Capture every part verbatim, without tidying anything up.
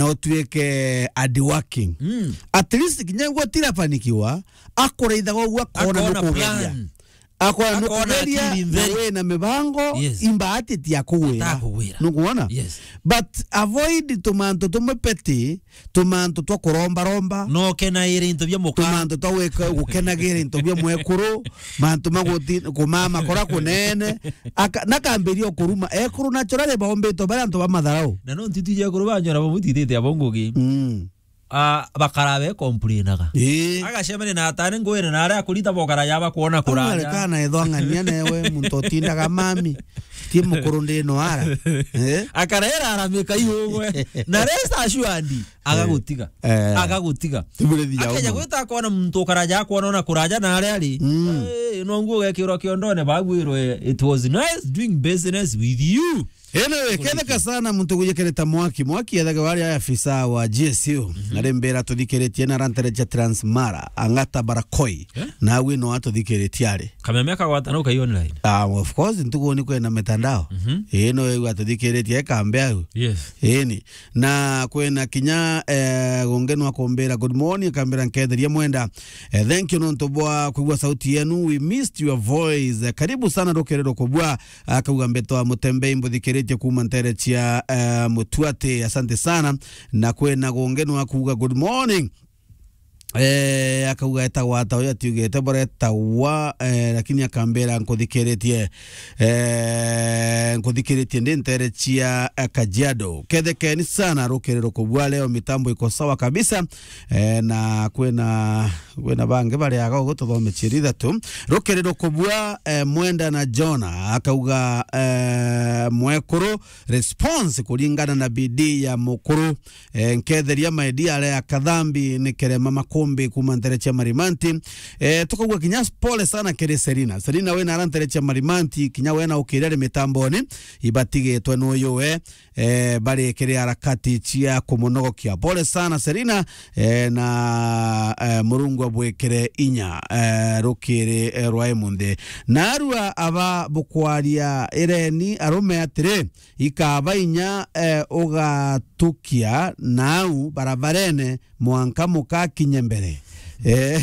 na utuike hardworking. Mm. At least kinya gwe tirafanikiwa, akuraithaga uguo akona Akona nukugeria. Plan. Akona Akona nukugeria, akili na ntheri. Wina mibango, Yes. imbaati tia kugwira. Atakugwira. Nukuona? Yes. But avoid tumantu tumwe peti, tumantu twa kuromba romba. No kenaire into bia muka. Tumantu twa gwika gukenagira into bia mwekuru, mantu ma guti-, kumama kora kunene. Aka-, nakambiria kuruma. Ekuru naturally baombitwe bari antu ba matharau. Na no ntitwije ekuru banyora bamutithite abo ngugi. Mm. Ah, bakara be complainaga. Ii. Agacemania na atane ngwire na aria akurita bokara yaba kuona kuraja. Kana ethwang'ania newe muntu utindaga mami. Ti mukuru ndi no ara. Eh? Akarera aramika iugwe. Na rest assured, agagutiga. Eh. Agagutiga. Tiburithi ya Akenya umu. Gwita akona muntu ukaraja akona ona kuraja na aria ari. Mm. Eh, no nguo gekirwa kiondone bagwirwe, "It was nice doing business with you." Anyway, ketheka sana muntu gujikirita mwaki. Mwaki ethage wari afisa wa G S U. Mhm. Na rimbira tuthikiritie na rantere cia Transmara, Ang'ata Barakoi. Eh? Na awi no atuthikiritie ari. Kameme kagwatana ukai online. Ah, of course, ntugu ni kwina mitandao. Mhm. Ii, no yu atuthikiritie kambe au. Yes. Ii, ni. Na kwina kinya, eh, gungi no akumbira, "Good morning," akambira, "Nketheria mwenda. Eh, thank you nontu bwa kwigua sauti yenu. We missed your voice. Eh, karibu sana rukiri rukubua." Akauga, "Mbetwa Mutembei, mbuthikiritie kuuma ntere cia, eh, Mutuati. Asante sana." Na kwina gungi no akuga, "Good morning." Eh, akauga, "Etagwa ata uyu?" Atiugite, "Boretagwa, eh, lakini akambira, nkuthikiritie, eh, nkuthikiritie ndi ntere cia, eh, Kajiado. Kethekeni sana, rukiri rukubua leo, mitambo iko sawa kabisa." Eh, na kwina, kwina bangi bariaga ugu tuthome ciiri ithatu. Rukiri rukubua, eh, Mwenda na Jona, akauga, eh, mwekuru, response kuringana na bidii ya mukuru. Eh, nketheria my dear Lea Kathambi ni Kerema Makumbi kuuma ntere cia Marimanti. Eh, tukaugua kinya pole sana kiri Serina. Serina wina ara ntere cia Marimanti, kinya wena ukiri ari mitamboni, ibatigitwe nuyu we, eh, bari kiri harakati cia kumunogokia. Pole sana Serina, eh, na, eh, Murungu abwikire inya, eh, rukiri, eh, rwa imunthi. Narua aba bukwaria ireni arume atiri, ikaba inya, eh, ugatukia nau barabarene mwanka mukakinye mbere. Eh.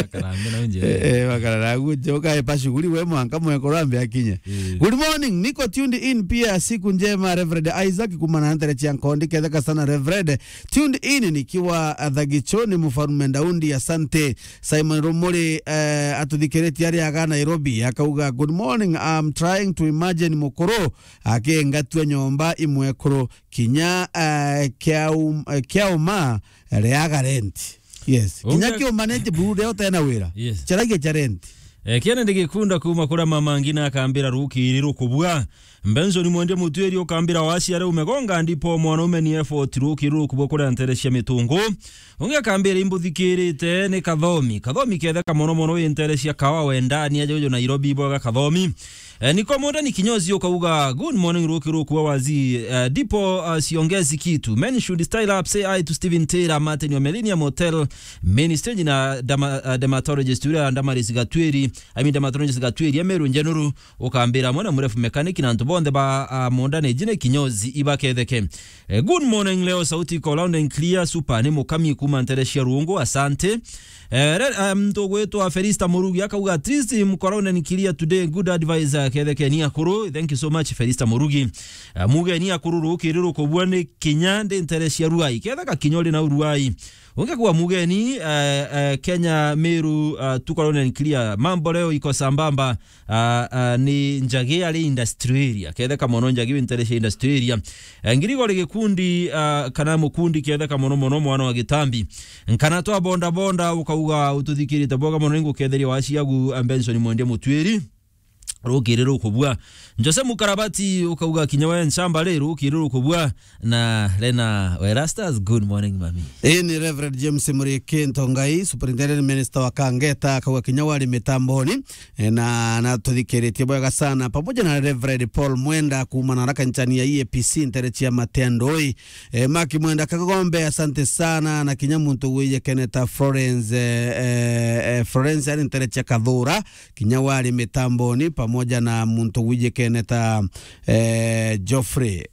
Akarambia na unje. Eh, bakarara guje, ukaepa shughuli we mwanka mwekuru ambe akinye. Eh. Good morning, niko tuned in pia, siku njema, Reverend Isaac, kuuma na ntere cia Nkondi, ketheka sana, Reverend. Tuned in nikiwa, ah, Thagichoni, Mfarume Daudi, asante. Simon Rumuri, eh, atuthikiritie ari aga Nairobi, akauga, "Good morning, I'm trying to imagine mukuru akingatua nyomba imwekuru, kinya, eh, kiaum-, eh, kiauma riaga rent." Yes. Kinya Unge- kiuma neti buru ria utena wira. Yes. Charagia cha rent. Eh, kiene ndigikunda kuuma kuria mama ngina akambira rukiri rukubua. Benson Mwende Mutwiri ukambira waciare umegonga ndipo mwanaume ni effort rukiri rukubua kuria ntere cia mitungu. Ungi akambira imbuthikirite ni Kathomi. Kathomi ketheka mono mono wi ntere cia Kawa wendani aja ujo Nairobi bwaga Kathomi. Eh, niko munda ni kinyozi ukauga, "Good morning, ruki ruku wa wazi." Eh, ndipo, eh, siongezi kitu. Men should style up, say hi to Steven Taylor, Martin wa Millennium Hotel, main stage na derma-, eh, dermatologist uria Damaris Gatwiri, I mean dermatologist Gatwiri, Emeru Njenuru, ukambira mwana murefu mechanic na antu bonthe ba, ah, munda ni jine kinyozi ibaketheke. Eh, good morning, leo sauti iko loud and clear, super, ni mukami kuuma ntere cia Rungu, asante. Eh, re-, eh, muntu ugwitwa Felista Murugi akauga, "At least mkoroune ni clear today, good advice, eh, kethekeni akuru." Thank you so much, Felista Murugi. Eh, mugeni akuru rukiri rukubua ni kinya ndi ntere cia Ruai. Ketheka kinya uri na Ruai. Ungi kuwa mugeni, eh, eh, Kenya Meru, eh, tuko loud and clear. Mambo leo iko sambamba. Ah, ah, ni Njagi ari industry area. Ketheka mono Njagi wi ntere cia industry area. Eh, Ngirigori gikundi, ah, kana mukundi ketheka mono mono mwana wa Gitambi. Nkana twa bonda bonda ukauga ututhikirite boga mono ninguketheria waciagu, ah, Benson Mwende Mutwiri. Rukiri rukubua. Jose Mukarabati ukauga kinya we nchamba ri rukiri rukubua. Na Lena Werastas, good morning, mami. Ii ni Reverend James Murikinto Ngai, Superintendent Minister wa Kangeta, akauga kinya wari mitamboni, e, na, na tuthikiritie bwega sana, pamoja na Reverend Paul Mwenda kuuma na raka nchani ya E A P C ntere cia Matendoi. E, Maki Mwenda Kagombe, asante sana, na kinya muntu wije Keneta Florence, e, e, e, Florence ari ntere cia Kathura, kinya wari mitamboni, pamoja na muntu wijikene ta, eh, Geoffrey, eh,